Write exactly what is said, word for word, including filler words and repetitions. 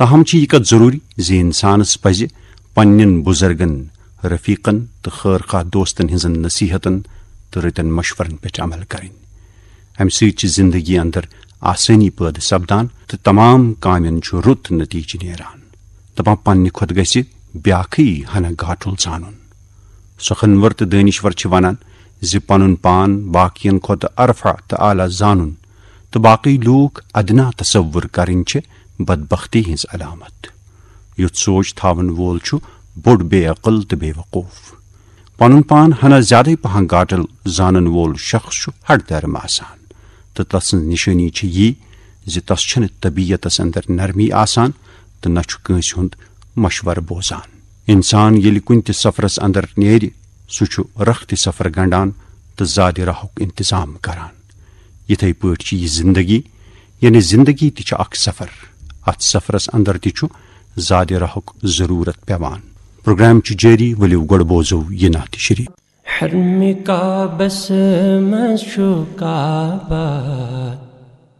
تاہم چھِ یہِ کتھ ضروٗری زِ انسانس پزِ پننٮ۪ن بُزرگن، رفیقن تہٕ خٲر خواہ دوستن ہٕنٛزن نصیحتن تہٕ رٕتٮ۪ن مشورن پٮ۪ٹھ عمل کرٕنۍ۔ امہِ سۭتۍ چھِ زندگی اندر آسٲنی پٲدٕ سپدان تہٕ تمام کامٮ۪ن چھُ رُت نتیجہٕ نیران۔ دپان پننہِ کھۄتہٕ گژھِ بیاکھٕے ہنا گاٹُل زانُن۔ سۄخنور تہٕ دٲنِشور چھِ ونان زِ پنُن پان باقین کھۄتہٕ ارفع تہٕ اعلیٰ زانُن تہٕ باقٕے لوٗکھ ادنا تصور کرٕنۍ چھِ بدبختی ہٕنٛز علامت۔ یُتھ سونچ تھاون وول چھُ بوٚڑ بے عقل تہٕ بے وقوف۔ پنُن پان ہنا زیادے پہن گاٹل زانن وول شخص چھُ ہٹ دھرم آسان تہٕ تسٕنز نشٲنی چھِ یی زِ تس چھنہٕ طبیعتس اندر نرمی آسان تہٕ نہ چھُ کٲنسہِ ہُند مشورٕ بوزان۔ انسان ییٚلہِ کُنہِ تہِ سفرس اندر نیرِ، سُہ چھُ رخت سفر گنڈان تہٕ زادِ راہُک انتظام کران۔ یِتھے پٲٹھۍ چھِ یہِ زندگی، یعنی زندگی تہِ چھِ اکھ سفر۔ اتھ سفرس اندر تہِ چھُ زادِ راہُک ضرورت پیوان۔ پروگرام چھُ جٲری، ؤلِو گۄڈٕ بوزو یہِ نعت شریف۔ حرم کعبس منٛز چھُ کعبہ،